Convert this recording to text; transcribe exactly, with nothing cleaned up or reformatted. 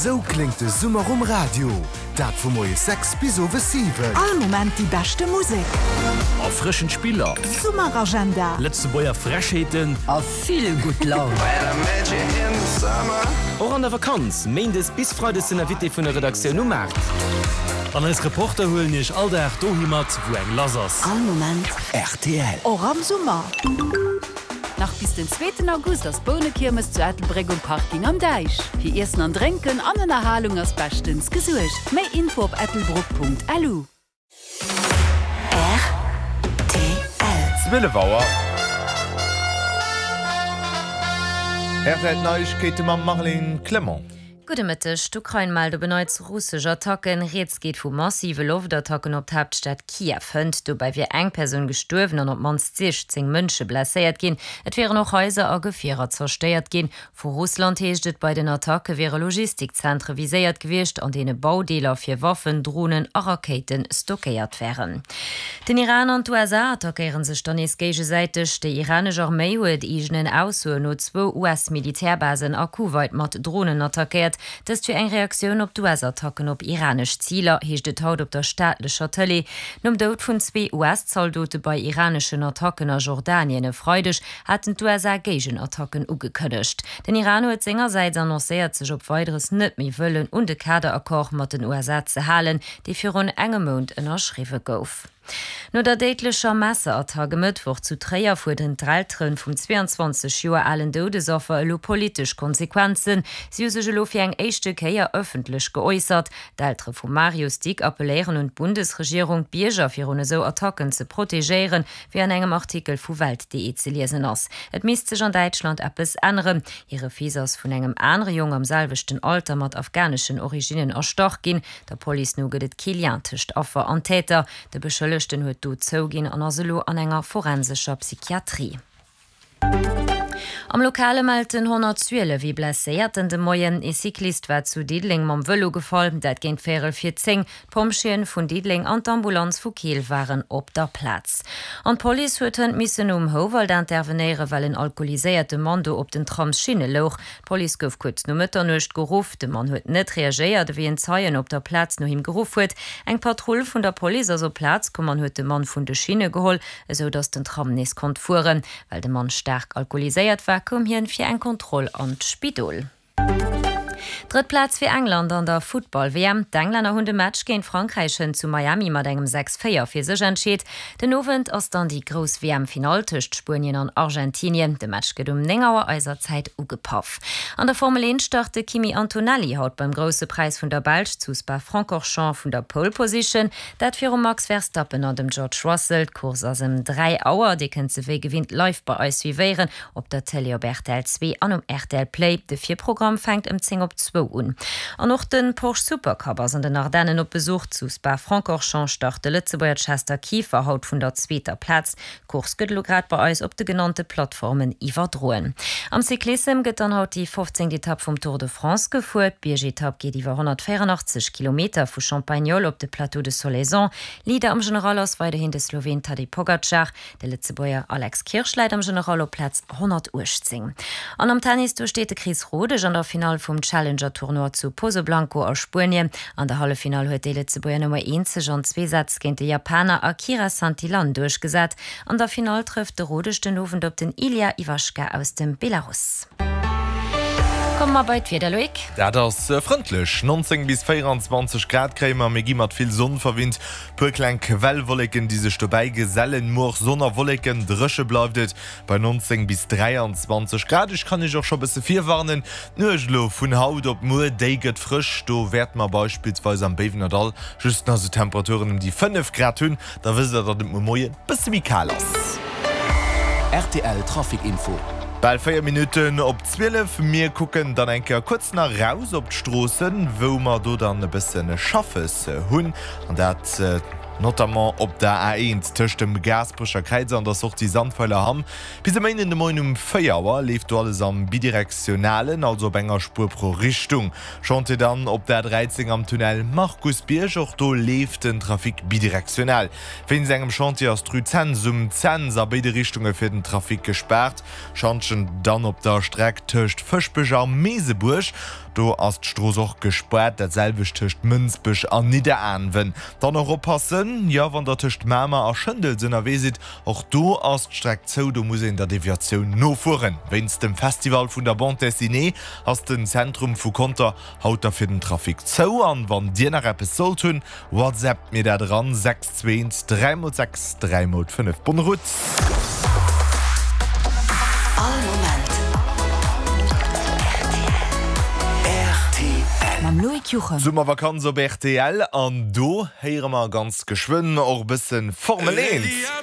Sou kléngt de Summer um Radio, dat vu moies sechs bis owes siwen. All Moment déi beschte Musek. Erfrëschend Spiller. Summeragenda. Lëtzebuerger Frechheeten. A vill gutt Laun. Och an der Vakanz, Méindes bis Freides den Invité vun der Redaktioun um Maart. An eis Reporter huelen iech all Dag dohi mat, wou eng lass ass. All Moment rtl. Och am Summer. Nach bis den zweeten August ass Bounekiermes zu Ettelbréck um Parking Am Däich. Fir Iessen an Drénken an Ënnerhalung ass beschtens gesuergt. Méi Info op ettelbruck.lu. Rtl. Zwielef Auer. Rtl Neiegkeete mam Marlene Clement. Gudde Mëtteg, D'Ukrain mellt op en Neits russesch Attacken. Rieds geet vu massive Loftattacken op d'Haaptstad Kiew. Hënt dobäi wier eng Persoun gestuerwen an op d'mannst siechzéng Mënsche blesséiert ginn. Et wieren och Haiser a Gefierer zerstéiert ginn. Vu Russland heescht et, bei den Attacke wiere Logistikzentre viséiert gewiescht, an deene Baudeeler fir Waffen, Dronen a Rakéite stockéiert wären. Den Iran an d'USA attackéiere sech dann nees géigesäiteg. Déi iranesch Arméi huet eegenen Aussoen no zwou US-Militärbasen a Kuwait mat Dronen attackéiert. Dëst wier eng Reaktioun op d'US-Attacken op iranesch Ziler, heescht et haut op der staatlecher Tëlee. Nom Doud vun zwee US-Zaldote bei iraneschen Attacken a Jordanien e Freideg haten d'USA Géigenattacken ugekënnegt. Den Iran huet sengersäits annoncéiert, sech op Weideres net méi wëllen un de Kaderaccord mat den USA ze halen, dee virun engem Mount ënnerschriwwe gouf. No der déidlecher Messerattack e Mëttwoch zu Tréier fuerderen d'Eltere vum zwee an zwanzeg Joer alen Doudesaffer elo politesch Konsequenzen. Si hu sech elo fir eng éischte Kéier ëffentlech geäussert. D'Eltere vum Marius Dick appelléieren un d'Bundesregierung, d'Bierger virun esou Attacken ze protegéieren, wéi an engem Artikel vu Welt.de ze liesen ass. Et misst sech an Däitschland eppes änneren. Hire Fils ass vun engem anere Jong am selwechten Alter mat afghaneschen Originnen erstach ginn. Der Police no gëtt et kee Lien tëscht Affer an Täter. De Beschëllegten huet d'Dot zouginn an ass elo an enger forensescher Psychiatrie. Am Lokale mellt den honnertzwielef ee Blesséierten de Moien. Ee Cyclist war zu Diddeleng mam Vëlo gefall, dat géint véierel vir zéng. D'Pompjeeën vun Diddeleng an d'Ambulanz vu Keel waren op der Plaz. An d'Police huet hënt missen um Houwald intervenéieren, well en alkoholiséierte Mann do op den Tramsschinne louch. D'Police gouf kuerz no Mëtternuecht geruff. De Mann huet net reagéiert, wéi en Zeien op der Plaz no him geruff huet. Eng Patrull vun der Police ass op d'Plaz komm an huet de Mann vun de Schinne geholl, esou datt den Tram nees konnt fueren. Well de Mann staark alkoholiséiert war, koum hien fir eng Kontroll an d'Spidol. Drëtt Plaz fir England an der Futtball-W M. D'Englänner hunn de Match géint Frankräich hënt zu Miami mat engem sechs véier fir sech entscheet. Den Owend ass dann déi grouss W M-Finall tëscht Spuenien an Argentinien. De Match gëtt um néng Auer eiser Zäit ugepaff. An der Formel eent start de Kimi Antonelli haut beim Grousse Präis vun der Belsch zu Spa-Francorchamps vun der Pole Position, dat virum Max Verstappen an dem George Russell. D'Course ass ëm dräi Auer. Dir kënnt se wéi gewinnt live bei eis suivéieren op der Tëlee op rtl zwee an um rtl Play. De Virprogramm fänkt ëm zéng op zwou un. An och de Porsche Supercup ass an den Ardennen op Besuch. Zu Spa-Francorchamps start de Lëtzebuerger Chester Kieffer haut vun der zweeter Plaz. D'Course gëtt elo grad bei eis op de genannte Plattformen iwwerdroen. Am Cyclissem gëtt dann haut déi fofzéngt Etapp vum Tour de France gefuer. D'Biergetapp geet iwwer honnertvéierunachtzeg Kilometer vu Champagnole op de Plateau de Solaison. Leader am General ass weiderhin de Sloween Tadej Pogacar. De Lëtzebuerger Alex Kirsch läit am General op Plaz honnertuechtzéng. An am Tennis, do steet de Chris Rodesch an der Finall vum Challenger-Tournoi zu Pozoblanco a Spuenien. An der Halleffinall huet déi Lëtzebuerger Nummer eent sech an zwee Sätz géint de Japaner Akira Santillan duerchgesat. An der Finall trëfft de Rodesch den Owend op den Ilya Ivashka aus dem Belarus. Komme mer bei d'Wieder, Loïc. Dat ass frëndlech, nonzéng bis véieranzwanzeg Grad kréie mer. Mir gi mat vill Sonn verwinnt, puer kleng Quellwolleken, déi sech dobäi gesellen. Muer Sonn a Wolleken, dréche bleift et bei nonzéng bis dräianzwanzeg Grad. Ech kann iech och scho bësse virwarnen, D'Nuecht elo vun haut op muer, déi gëtt frësch. Do wäerte mer beispillsweis am Béiwenerdall just nach sou Temperaturen ëm déi fënnef Grad hunn. Da wësst der, datt et muer Moien bësse méi kal ass. Rtl Trafic Info. Bal véier Minutten op zwielef. Mir kucken dann eng Kéier kuerz nach raus op d'Stroossen, wou mer do dann e bësse Schaffes hunn. An dat notamment op der A eent tëscht dem Gaasperecher Kräiz an der Sortie Sandweiler Hamm. Bis e Méinden de Moien um véier Auer leeft do alles am Bidirektionalen, also op enger Spuer pro Richtung. Chantier dann op der A dräizéng am Tunnel Markusbierg, och do leeft den Trafic bidirektional. Wéinst engem Chantier ass d'Rue Cents um Cents a béide Richtunge fir den Trafic gespaart. Schantjen dann op der Streck tëscht Fëschbech a Meesebuerg. Do ass d'Strooss och gespaart, dat selwecht tëscht Mënsbech an Nidderaanwen. Dann och oppassen, jo wann der tëscht Mamer a Schëndels ënnerwee sidd, och do ass d'Streck zou, do muss een der Deviatioun nofueren. Wéinst dem Festival vun der Bande Dessinée ass den Zentrum vu Conter haut da fir den Trafic zou. An wann dir nach eppes sollt hunn, WhatsAppt mir dat eran, sechs zwee eent dräi mol sechs dräi mol fënnef. Bonne route! All Moment rtl. Mam Loïc Juchem. Summervakanz op rtl an do héiere mer ganz geschwënn och e bëssen Formel eent.